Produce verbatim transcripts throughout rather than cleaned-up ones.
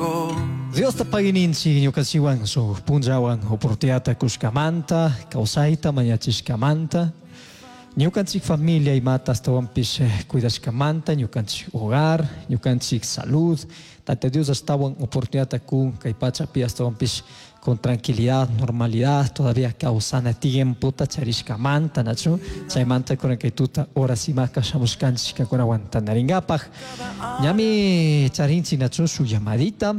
poco. Diosta pagui ninchik ñukanchikwan shuk punllawan oportunidadta kushkamanta, kawsayta mañachishkamanta, ñukanchik familia imata ashtawanpish eh, cuidashkamanta, ñukanchik hogar, ñukanchik salud, Tata Dios ashtawan oportunidadta kun kay pachapi ashtawanpish con tranquilidad, normalidad, todavía kawsana tiempota charishkamanta, nachu, chaymanta kunan kay tuta horas imaka shamushkanchik kankunawan tantarinkapaj. Ñami charinchik nachu shuk llamadita.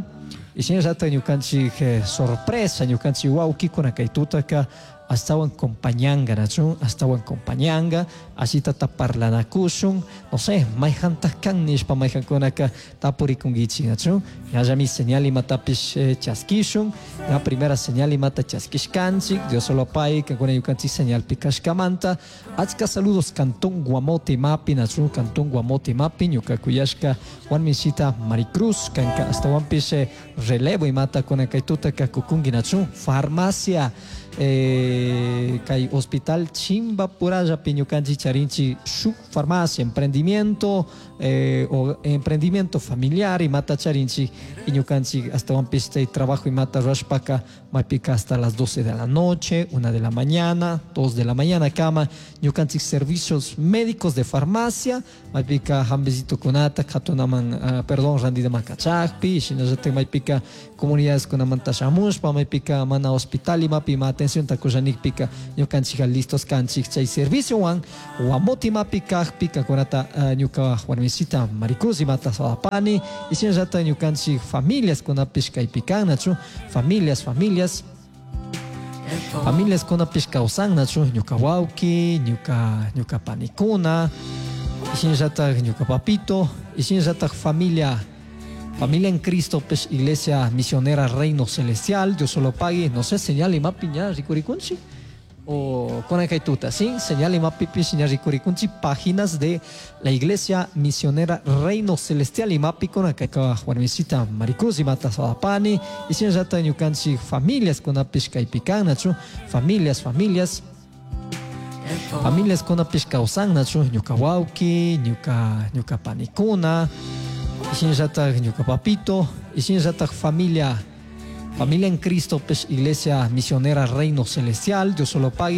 Y shinallata ñukanchik eh, sorpresa, ñukanchik wawkikuna kay tutaka ashtawan compañanga, nachu, ashtawan compañanga, ashitata parlanakushun, no sé, mayjantaj kan nishpa mayjankunaka tapurikunkichik, nachu, ñallami señal imatapish eh, chaskishun, la primera señal imata chaskishkanchik, Dios solo pay, kankuna ñukanchik señalpi kashkamanta, achka saludos Cantón Guamote mapi, nachu, Cantón Guamote mapi, ñuka kuyashka Juan Misita Maricruz, kanka ashtawanpish eh, relevo imata kunan kay tutaka kukunki, nachu, farmacia, eh, kay hospital Chimbapurallapi ñukanchik charinchik shuk farmacia, emprendimiento, eh, o emprendimiento familiar imata charinchik y ñukanchik ashtawanpish chay trabajo imata rurashpaka maypika hasta las doce de la noche, una de la mañana, dos de la mañana kama ñukanchik servicios médicos de farmacia maypika hambisitukunata katunaman, uh, perdón, randidaman kachakpi, shinallatak maypika comunidades kunamanta shamushpa maypika mana hospital imapi ima atención kushanikpika ñukanchika listos kanchik chay serviciowan Guamote imapi kakpi kankunata uh, ñuka warmisita Maricruz imata saludapani y shinallata ñukanchik familias kunapish kaypi kan, nachu, familias, familias familias kunapish kawsan, nachu, ñuka wawki, ñuka ñuka panikuna y shinallatak ñuka papito y shinallatak familia Familia en Cristo, pues, Iglesia Misionera Reino Celestial, Dios solo pague, no sé, señal imapi ña rikurikunchik o kunan kay tuta, ¿sí? Señal imapipish ña rikurikunchik páginas de la Iglesia Misionera Reino Celestial imapi kunan kay warmisita Maricruz imata saludapani y shinallata ñukanchik familias kunapish kaypi kan, nachu, familias, familias familias kunapish kawsan, nachu, ñuka wawki, ñuka ñuka panikuna y shinallatak ñuka papito y shinallatak familia Familia en Cristo, pues, Iglesia Misionera Reino Celestial, Dios solo pague.